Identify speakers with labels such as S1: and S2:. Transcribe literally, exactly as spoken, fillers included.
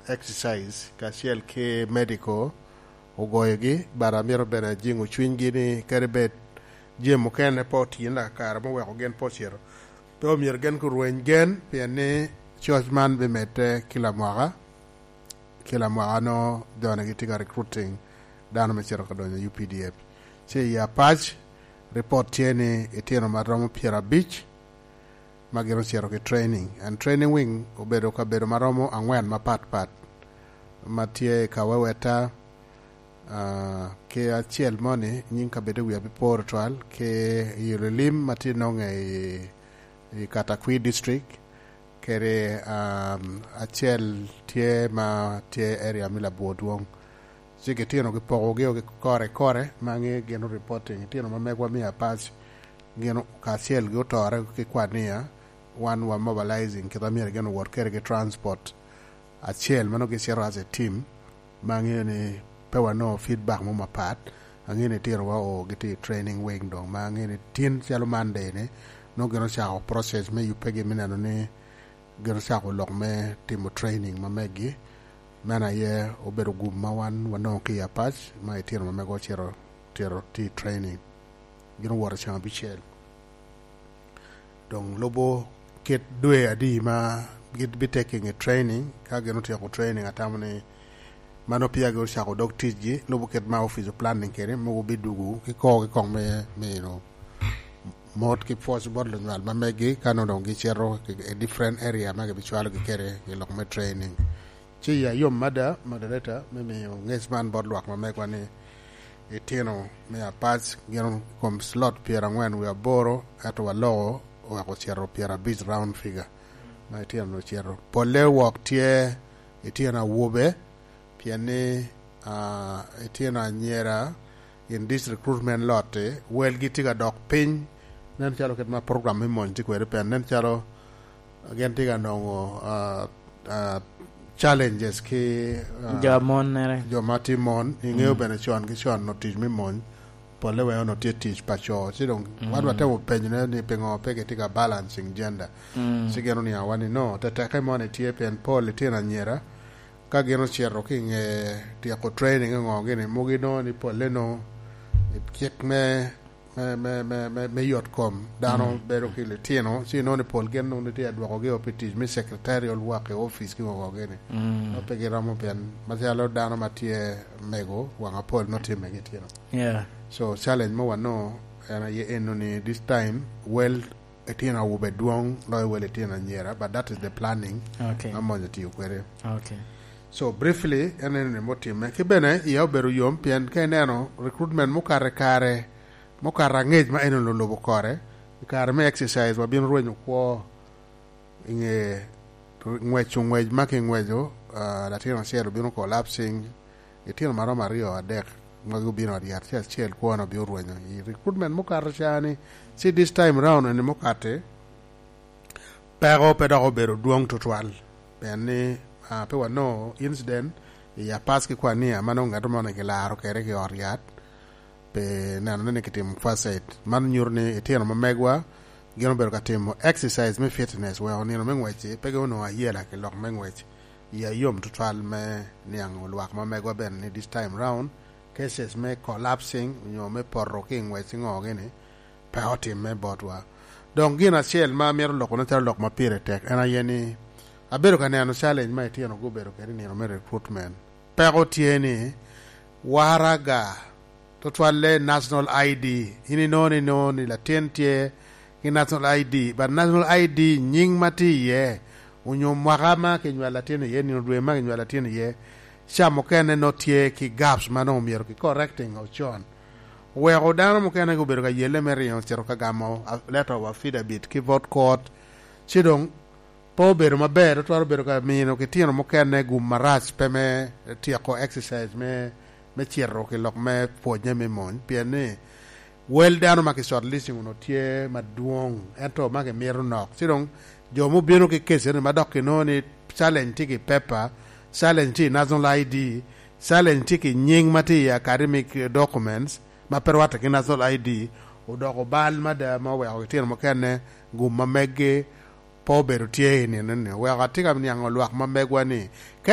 S1: Exercise kacel ki medical ogoyogi, but amito bene jingo cwinygi ni kadi bed jami mukene pe otine lakakare ma oweko gin pe ocito, pe omyero gin gurweny gen, pien ni coc man bimedde ki lamwaka ki lamwaka nongo joni gitye ka recruiting dano me cito ka donyo i U P D F. Ci i Apac, report tye ni itino ma romo pyerabic ma gin ocito ki training, and training wing obedo kabedo ma romo angwen mapat pat ma tye i Kaweweta, uh, ki acel moni nying kabedo wiya pe po twal, ki i Olilim ma tye nonge i, i Katakwi District, kede um, acel tye ma tye area me Labwor Dwong. Ci gitino gipokogi ki kore kore ma ngi gin reporting itino ma megwa me Apac gin kacel gi otore ki Kwania. Wan wa mobilizing kita myero gin owot kede ki transport acel ma nongo gicito as a team, ma angeyo ni pe wanongo feedback mo mapat. Angeyo ni tino wa o gitye i training wing dong, ma angeyo ni tin calo Monday ni nongo gin ocako process me yubbe me neno ni gin ocako lok me timo training ma meggi. Meno aye obedo gum ma wan wanongo ki i Apac ma itino ma mego ocito tiro tye i training, gin owoto ceng abicel dong lubo kit dwe adi ma gin taking i training. Ka gin otyeko training, atamo ni mano peya gi ocako dog ticgi, lubo kit ma office of planning kede mogo bidugu ki kor ki kong me mino mot ki pwoc bot lunywal ma meggi ka nongo dong gicito i different area ma gibicwalogi kede i lok me training. Ci ya yom mada, moderator, me miyo ngec man bot lwak ma megwa ni itino me Apac gin kom slot pyerangwen wiye aboro, ento waloko oweko ocito pyerabic, round figure ma itino ocito. Polle wok tye itino awobe, pien ni uh, itino anyira in this recruitment lot welgi tye ka dok piny. Nen calo kit ma program me mony tye kwede, pien nen calo gin tye ka nongo uh, uh, challenges ki uh,
S2: jo mon nere.
S1: Jo ma tye mon. Ingeo bene con ki con no tic me mony polle weo no tye tic pa co, ci dong wan watemo penyone ni pingo pe gitye ka balancing gender. Ci gin oniango ni no teteke moni tye pien pol litino anyira ka gin ocito ki inge tyeko training ngo gini mugi nongo ni polle no cik me me me me me, me yot kom dano bedo ki litino, ci nongo ni pol gin nongo tye adwokogi o pi tic me secretarial work i office ki ngo gini no pe giromo, pien macalo dano ma tye mego wang apol no timme gi tino.
S2: Yeah
S1: so challenge mo wanongo en aye eno ni this time well itino awobe dwong loyo wel itino anyira, but that is the planning
S2: okay
S1: ma mony otiyo kwede.
S2: Okay
S1: so briefly, en eno ni mutimme ki bene iya obedo yom, pien ka ineno recruitment mukato kare mukato angec ma eno lulubo kore i kare me exercise, wabino rwenyo kwo inge ngweco ngwec ma kingweco. uh, latin acel obino collapsing, itino maromo aryo adek ma gubino ot yat, ci acel kwone obino rwenyo i recruitment mukato cani. Ci this time round eni mukati peko pe dok obedo dwong tutwal, pien ni uh, pe wanongo incident i Apac ki Kwania ma nongo ngato moni kilaro kede ki ot yat pe neno ni kitimo first aid. Man nyuto ni itino ma megwa gin obedo ka timo exercise me fitness weko nino me ngwec pe onongo ayela ki lok me ngwec. Iya yom tutwal me niango lwak ma megwa bene ni this time round cases me collapsing nyo me poto ki i ngwec ngo gini pe otimme botwa. Dong gin acel ma amito lokone calo lok ma pire tek en aye ni abedo ka neno challenge ma itino gubedo kede nino me recruitment. Peko tye ni waraga, tutwalle national I D. In inongo ni nongo ni latin tye ki national I D, but national I D nying ma tye iye onyo mwaka ma kinywalo latin iye, nino dwe ma kinywalo latin iye, ca mukene no tye ki gaps ma nongo myero ki correcting ocon. Weko dano mukene gubedo ka yelle me ringo cito ka gamo letter of affidavit ki vote court, ci dong pe obedo maber tutwal, obedo ka mino kitino mukene gum marac pe me tyeko exercise me me cito ki lok me pwonye me mony, pien ni wel dano ma ki shortlisting ono tye madwong ento ma kimito nok. Ci dong jo mubino ki case ni ma dok kinongo ni challenge tye ki paper, challenge tye i national I D, challenge tye ki nying ma tye i academic documents ma pe rwatte ki national I D, odoko bal mada ma oweko kitino mukene gum ma meggi pe obedo tye i nino ni. Oweko atye ka niango lwak ma megwa ni ka